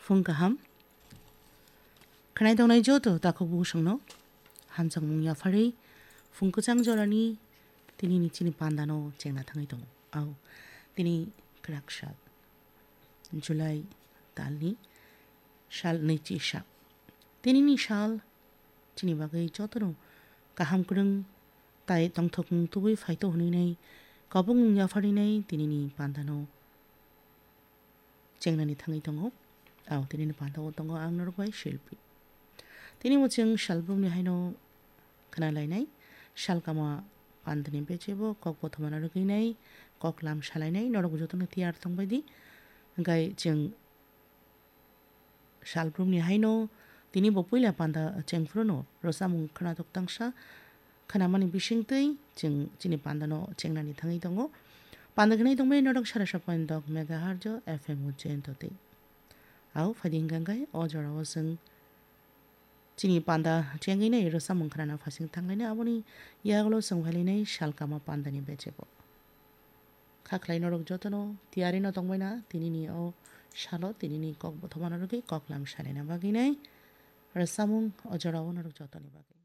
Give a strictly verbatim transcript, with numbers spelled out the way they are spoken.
Phung kaham. Khwnai tongnai joto takhuk busongno hamjakmung yapharwi phung kwchang jorani tinini chini pandano chengna thangwi tongo. Au, tini kwrak sal, July talni sal nwichi sa. Tinini sal chini bagwi jotono kaham kwrwng tai tongthokmung tubui phaito hwnwi nai kabukmung yapharwi nai tinini pandano chengnani thangwi tongo. Au, tinini panda o tongo ang norok bai Shilpi. Tini bo chwng salbrumni haino khna lainai, salkama pandani bechebo kok bothomano rwgwi nai, kok lam salainai, norok jotono tiyar tongbai di. Hwnkhe chwng salbrumni haino tini bo puila panda chengphruno rwchapmung khnatok tangsa khnamani bisingtwi chwng chini pandano chengnani thangwi tongo. Panda khnai tongmani norok sara sapani dok megahertz F M o chentotwi. Au, phaidi hwnkha khe o jorao chwng chini panda chengwi nai rwchapmung khnana phasing thanglainai, aboni yagulo chwng phailainai salkama pandani bechebo. Kha khlai norok jotono tiyari no tongbaina tinini o salo tinini kok bothomano rwgwi kok lam salaina bagwi nai rwchapmung o jorao norok jotoni bagwi.